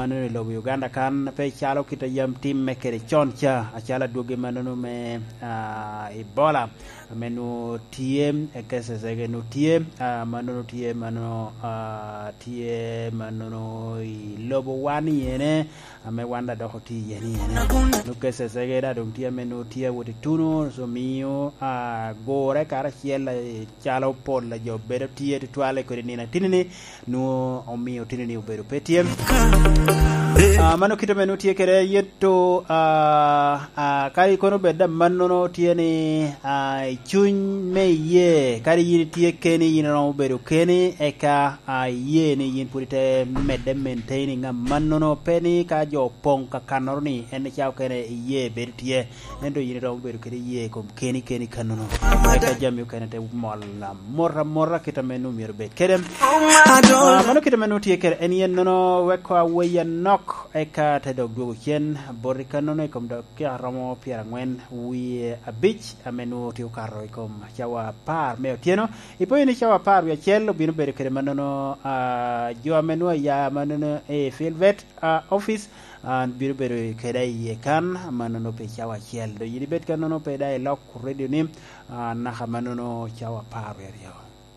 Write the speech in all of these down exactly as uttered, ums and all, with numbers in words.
Nwoŋo i lobo Uganda kan pe calo kit a yam timme kede con ca, acalo adwogi mannono me, ah, Ebola, ame nwoŋo tye, eh, cases ege nwoŋo tye, ah, mannono tye, mannono, ah, tye mannono i lobo wan i ene, ame wan daŋ dok otye i ene i ene. Nwoŋo cases ege daŋ doŋ tye ame nwoŋo tye awot i tuno, so miyo, ah, gure karacel, eh, calo pol a jo bedo tye tutwal i kodi nino atini-ni, nwoŋo omio otino-ni obedo pe tye. Ah, mano kite ame nwoŋo tye kede, yeto, ah, ah, kadi kono bed daŋ mannono tye ni, ah, i cuny me iyee, kadi yin itye keni, yin iromo bedo keni, eka, ah, iyee ni yin pwod ite medde maintaining a mannono, pe ni ka jo opoŋ kakannoro ni en icawa kene iyee bedo tye. Ento yin iromo bedo kede iyee i kom keni keni kannono. Eka jami okene te mol amot amota kit ame nwoŋo myero bed kede. Ah, mano kit ame nwoŋo tye kede en yen nono weko aweyi anok, eka te dok dwogo cen boti kannono i kom dakika romo pyerangwen wie abic ame nwoŋo tye okato i kom cawa apar me otyeno. Ipenyo ni cawa apar wie acel obino bedo kede mannono, ah, jo ame nwoŋo aya mannono i Filbert, ah, office, ah, bino bedo kede iye kan, mannono pi cawa acel. Doŋ yin ibed kannono pe daŋ ilok redio-ni, ah, naka mannono cawa apar wie aryo.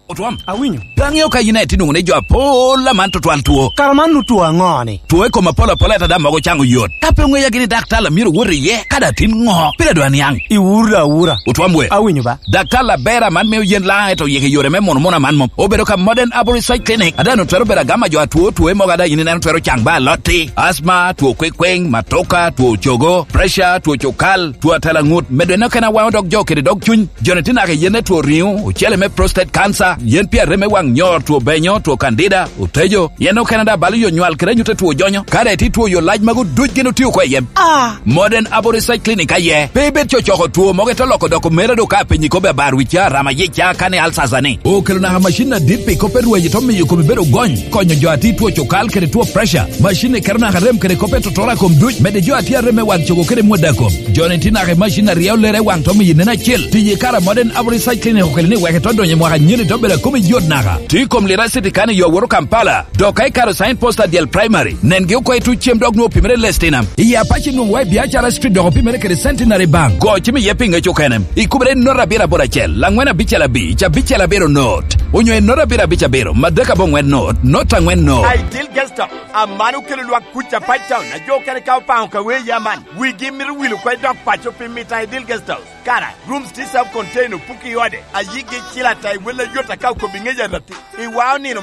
Otwom. Awinyo. Pe aŋeo ka yin aye tye nwoŋo ni jo apol aman tutwal two. Kara man nwoŋo two aŋo-ni? Two i kom apol apol, ento daŋ mogo caŋ oyot. Ka pe oŋeya gini daktar a myero wot iye, ka daŋ tin ŋo? Pire dwa niaŋ. Iwuro daŋ awura. Otwom we. Awinyo ba. Daktar aber aman mio yen laŋ, ento yeke yore me muno muno aman mom. Obedo ka Modern Arborist Side Clinic. Ada nwoŋo twero bedo agama jo atwo, two mogo ada yin ineno twero caŋ ba alotti. Asma, two kwekweng, matoka, two cogo, pressure, two cukal, two atalaŋut. Medo en okene awaŋo dog jo kede dog cuny. Jo-ni tye naka i yen me two riŋo, ocele me prostate cancer, yen pi arem me waŋ nyor, two benyo, two candida, otejo. Yen okene daŋ balo yo nywal kede anyut a two jonyo. Ka daŋ itye two yo lac magu duc gin otio oko i yen. Ah. Modern Arborist Side Clinic aye. Pe ibed cocoko two mogo ite loko doko mera do ka apenyi kobbe abar wicca, rama yicca, kani alsasa ni. Okelo naka macin adit pi kop me rwaci to miyo kome bedo gony, konyo jo a tye two cukal kede two pressure. Macin-ni keto naka rem kede kop me totora kom duc, medde jo a tye arem me wang cogo kede mwada kom. Jo-ni tye naka i macin a ryeo lere i wang to miyo nen acel. Tiyo i kare a Modern Arborist Side Clinic okelo ni wek ito donyo i mwaka anyen ito bedo a kome yot naka. Tye i kom Lira City kan i yo a woto Kampala. Dok ka ikato sign post a dyel primary, nengi oko i tuc cem dok nwoŋo opimere i Lestinam. I Apache nwoŋo wa i Biacara Street dok opimere kede Centenary Bank. Go cim iye pi ŋec okene. Ikubere i not abiro aboro acel, angwen abicel abic, abicel abiro not. Onyo i not abiro abic abiro, madek aboŋwen not, not angwen not. Ideal Guest House, aman okelo lwak kuc a Pine Town, a jo okene ka opaŋo ka wee ya man. Wigi mito wil oko i dok paco pi mito Ideal Guest House. Kara, rooms tye self-contained, opuki i ode, a yigi cil ata i wel ayot aka okobi ŋec aratti. I wa onino